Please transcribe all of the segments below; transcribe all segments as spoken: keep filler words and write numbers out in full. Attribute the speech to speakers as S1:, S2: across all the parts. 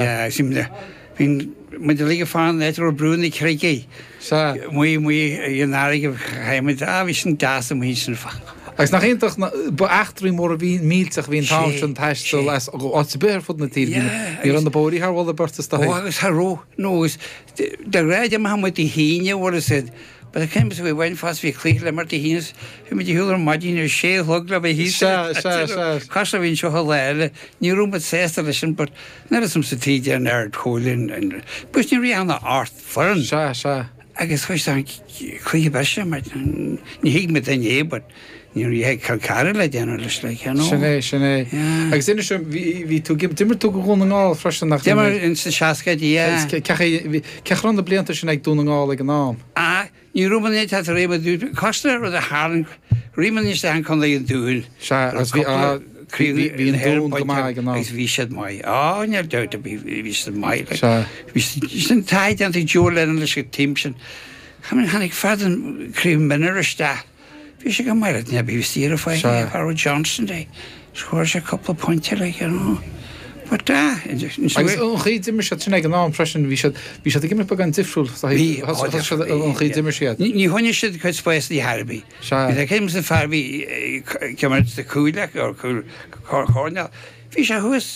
S1: Bhí muid uilig ag fanacht áit a raibh Brú na Creige.
S2: Sea.
S1: Amuigh amuigh an fharraige chaith muid, ah bhí sin deas amuigh ansin.
S2: Agus nach iontach ba eachtraí móra bhí millteach a bhí an t-am sin taisteal as áit ar bith ar fud na tíre. Ní raibh na bóithrí thar mholadh beirte is dóigh.
S1: Ó agus cha raibh, nó agus de ghnáth d'imeodh muid Dé hAoine bhfuil a fhios a'd but cén we went fast bhí cluiche le imirt Dé hAoine is bhí muid ar shiúl ar maidin ar sé a chlog le bheith thíos
S2: Sea, sea, sea.
S1: Cos a bhí anseo an lá eile, ní raibh muid sásta leis sin but níl fhios a'msa taobh de an Ard Chomhairle an, an, but ní raibh ann ach ocht foireann.
S2: Sea, sea.
S1: Agus chuaigh sé an cluiche breise mar ní thuig muid duine é but ní raibh Cill Chartha le déanamh leis like you know.
S2: Sin é, sin é.
S1: Yeah.
S2: Agus inis dom, bhí, bhí tú, d'imir tú do Dhún na nGall freisin nach
S1: D'imir ins na seascaidí, yeah.
S2: Cé chaoi, cé chaoi raibh na blianta sin ag Dún na nGall ag an am?
S1: Ah, ní raibh muid ag teacht ar aon cosúil le rud a tharla, rith muid isteach in Contae an Dúin.
S2: Sea, agus bhí, ah, bhí, bhí an Dún go maith ag an am.
S1: Agus bhí siad maith. Á, níl dabht ar bith, bhí siad maith. Like.
S2: Sea.
S1: Bhí siad, sin taithí déanta ag Joe Lennon leis an team sin. Tháinig fear den Craobh Mionúr isteach. Bhí sé go maith le bhí saor faighte
S2: Sea.
S1: ag Harold Johnston de. Scóráil sé cúpla pointe like, you know. But ah,
S2: Agus an chaoi d'imir siad sin ag an am freisin, bhí siad, bhí siad ag imirt beagán difriúil.
S1: Bhí,
S2: Thosaigh siad an chaoi d'imir siad.
S1: Ní choinnigh siad cuid spáis ní thar bith.
S2: Sea.
S1: Bhí céim san fear bhí ag imirt sa cúileach or cúl choirnéal. Bhí sé thuas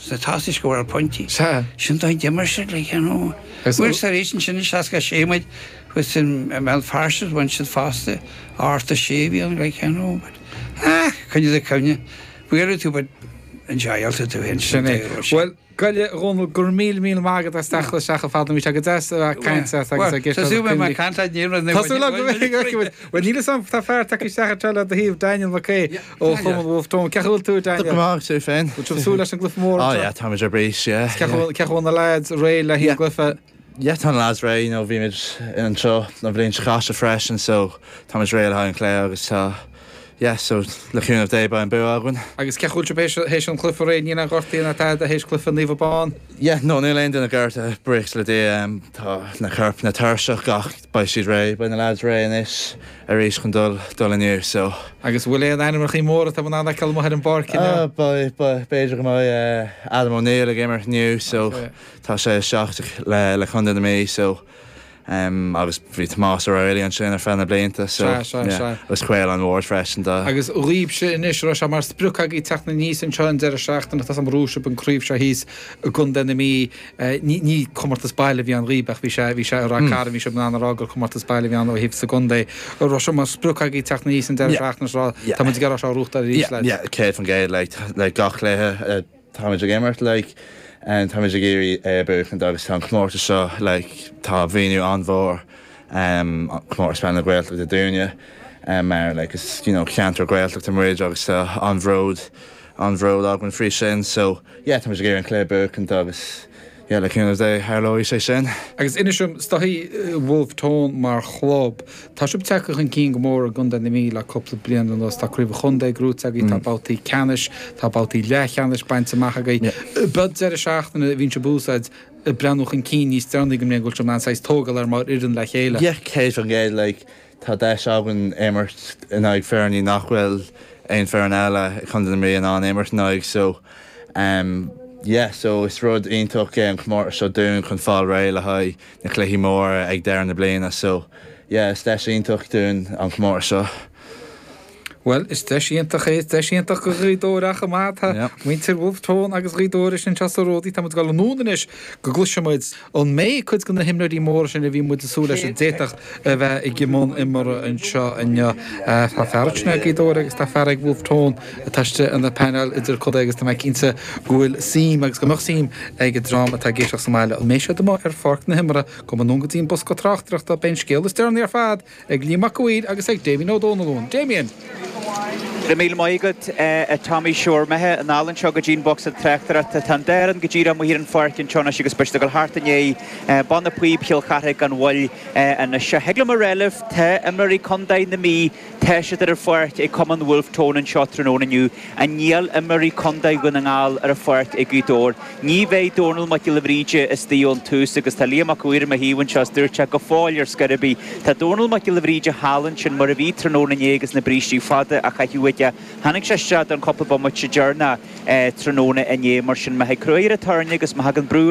S1: sna tosaigh scóráil pointí.
S2: Sea.
S1: Sin dóigh d'imir siad like, you know.
S2: Agus-
S1: Bhuail tar éis ansin i seasca sé muid thuas in i mBéal Feirste bhain siad fosta ocht a sé bhí an like, you know. But, ah, coinnigh do cuimhne. Bualadh tú but enjoyáilte tú féin.
S2: Sin é. Bhuel, Goille Dhónaill, go raibh míle míle maith agat as teacht isteach a fad bhí sé go deas a bheith ag caint leat agus ag
S1: Tá súil mé caint ní
S2: Tá súil agam go mbeidh Bhuel níl a fhios agam tá fear tagtha isteach anseo le do thaobh Daniel McKay ó Chumann Wolfe Tone. Cén chaoi a bhfuil tú Daniel?
S3: Go maith tú féin.
S2: Bhfuil tú súil leis an gcluiche mór?
S3: Oh yeah, táimid ar bís, yeah.
S2: Cén chaoi bhfuil na lads réidh le haghaidh an gcluiche?
S3: Yeah, tá na lads réidh, you know, bhí muid anseo an bhliain seo caite freisin, so táimid réidh le haghaidh an chluiche agus tá yeah, so le cúnamh Dé beidh an bua againn.
S2: Agus cén chaoi bhfuil sibh théis an chluiche réidh níl aon ghortaí ná tada théis cluiche Naomh Abán?
S3: Yeah, no, níl aon duine gortaithe buíochas le Dia um, tá na coirp na tuirseach ach beidh siad réidh, beidh na lads réidh anois arís chun dul dul inniu, so.
S2: Agus bhfuil aon ainmneacha móra atá in ann feiceáil amuigh ar an bpáirc inniu?
S3: Uh, beidh beidh b'fhéidir go mbeidh uh, Adam O'Neill ag imirt inniu, so
S2: Okay.
S3: tá sé isteach le le Contae na Mí, so um, agus bhí Tomás O'Reilly ansin ar feadh na blianta, so
S2: Sea, sea,
S3: yeah,
S2: sea.
S3: agus Caolán Ward freisin dá.
S2: Agus dhaoibhse anois raibh sé mar sprioc agaibh teacht aníos anseo an deireadh seachtaine tá an Rúisib an craobh seo thíos i gContae na Mí eh, ní ní comórtas baile a bhí ann dhaoibh ach bhí sé bhí sé i Ráth Cairn bhí sé in ann a rá gur comórtas baile a bhí ann ó thaobh sa gcontae. Raibh sé mar sprioc agaibh teacht aníos an deireadh
S3: Yeah.
S2: seachtaine seo
S3: Yeah.
S2: tá muid ag iarraidh seo a bhuachtáil arís
S3: Yeah,
S2: lads.
S3: yeah, céad faoin gcéad like, like gach cluiche uh, táimid ag imirt like and táimid ag iarraidh é a bhuachaint agus tá an comórtas seo like tá mhíniú an-mhór um, comórtas peile na Gaeltachta dúinne um, mar like is you know ceantar Gaeltachta muid agus tá an-bhród an-bhród againn faoi sin so yeah táimid ag iarraidh an cluiche a bhuachaint agus yeah le cúnamh Dé tharlóidh sé sin.
S2: Agus inis dom is dóigh Wolfe Tone mar chlub. Tá sibh tagtha chun cinn go mór i gContae na Mí le cúpla bliain anuas tá craobh chontae gnóthaithe agaibh tá babhtaí ceannais, tá babhtaí leathcheannais bainte amach agaibh. Bud deireadh seachtaine bhíonn sibh úsáid breathnú chun cinn níos deireanaí go mbeidh bhfuil an saghas tógáil ar mar fhoireann le chéile.
S3: Yeah, céad faoin gcéad like tá deis againn imirt in aghaidh foirne nach bhfuil aon foireann eile chun na Mí in ann imirt in aghaidh so um, yeah, so is rud iontach é an comórtas seo dúinn chun fáil réidh le haghaidh na cluichí móra ag deireadh na bliana so yeah, is deis iontach dúinn an comórtas seo.
S2: Well, is deis iontach é deis iontach go Gaoth Dobhair ach amach
S3: Yeah.
S2: muintir Wolfe Tone agus Gaoth Dobhair sin sa ródaí tá gall núnis go gcloisfimid an mbeidh cuid de na himreoirí móra sin a bhí muid ag súil leis a d'fhéadfadh a bheith i mbun imeartha anseo inniu tá fear ag Gaoth Dobhair agus tá fear ag Wolfe Tone atá ina painéal idirchontae agus tá mé cinnte go bhfuil suim agus go mbeadh suim ag an dream atá ag éisteacht sa mbaile an mbeidh siad amuigh ar pháirc na himeartha go mba go dtí an bosca tráchtaireachta beidh an scéal is deireanaí ar fad ag Liam Mac Uidhir agus ag Damien Ó Dónalún. Damien!
S4: Le míle maith agat a Tommy Shore methe an álan seo go dtín box tráchtaireachta tá an go dtí amuigh ar an pháirc anseo agus beidh go thart inné banna píob Chill Chartha gan mhoill an se hegle mar relih tá imreoirí Contae na Mí tá siad ar an pháirc ag Cumann Wolfe Tone anseo tráthnóna inniu a níl imreoirí Contae Dhún na nGall ar an pháirc ag Gaoth Dobhair. Ní bheidh Dónal Mac Giolla Bhríde istigh ón tús agus tá Liam Mac Uidhir mo thaobh anseo dúirt go fóill ar scor ar bith. Tá Dónal Mac Giolla Bhríde thall ansin mar a bhí tráthnóna inné agus na brístí fada a chaitheamh aige. Tháinig sé isteach don chúpla bomaite deireanach tráthnóna inné mar sin má thig cruaidh ar an tairne agus má thagann brú ar